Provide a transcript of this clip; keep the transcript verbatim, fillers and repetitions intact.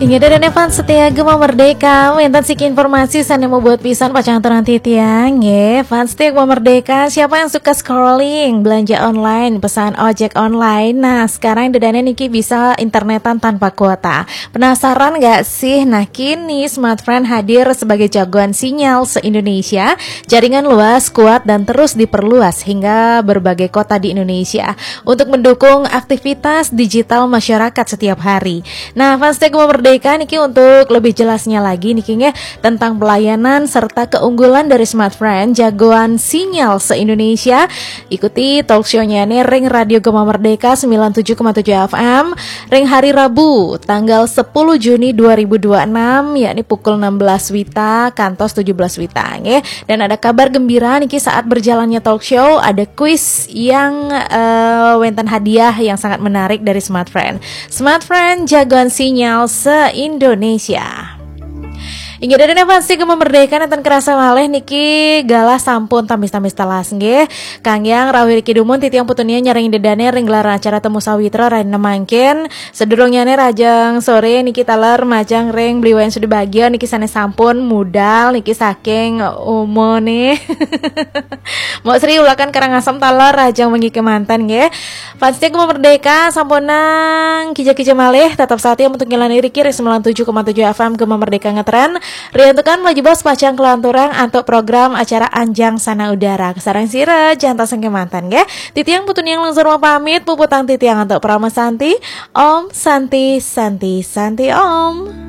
Inggih, dané fans setia Gema Merdeka, wénten siki informasi sané mabuat pisan pacang aturang titiang, nggih. Fans setia Gema Merdeka, siapa yang suka scrolling, belanja online, pesan ojek online? Nah, sekarang dané niki bisa internetan tanpa kuota. Penasaran nggak sih? Nah, kini Smartfren hadir sebagai jagoan sinyal se-Indonesia. Jaringan luas, kuat, dan terus diperluas hingga berbagai kota di Indonesia untuk mendukung aktivitas digital masyarakat setiap hari. Nah, fans setia Gema Merdeka niki, untuk lebih jelasnya lagi niki, nggih, tentang pelayanan serta keunggulan dari Smartfren, jagoan sinyal se-Indonesia, ikuti talk show-nya nih ring Radio Gema Merdeka sembilan tujuh koma tujuh F M, ring hari Rabu tanggal sepuluh Juni dua ribu dua enam, yakni pukul enam belas wita kantos tujuh belas wita, nggih. Dan ada kabar gembira niki, saat berjalannya talk show, ada kuis yang eh, wénten hadiah yang sangat menarik dari Smartfren. Smartfren, jagoan sinyal se-Indonesia. Inggih, dané fans setia Gema Merdeka, nénten kerasa malih niki galah sampun tamis-tamis telas, nggih. Kang Yang rawuh riki dumun, titiang putunian nyarengin dané ring gelaran acara Temu Sawitra rahina mangkin. Sadurungnyané rahajeng soré niki taler majeng ring Bli Wayan Sudibagia niki sané sampun mudal niki saking Uma nih. Mbok Sri Ulakan Karangasem taler, rahajeng wengi kémanten, nggih. Fans setia Gema Merdeka, sampunang kija-kija malih, tetep satia untuk nyelani riki ring sembilan tujuh koma tujuh F M Gema Merdeka ngetren. Riantukan melaju bos pacang kelanturang antuk program acara Anjang Sana Udara. Kasarengin sira, jantos kémanten, nggih. Titiang putunian nglungsur pamit, puputang titiang antuk Parama Santi. Om Santi, Santi, Santi Om.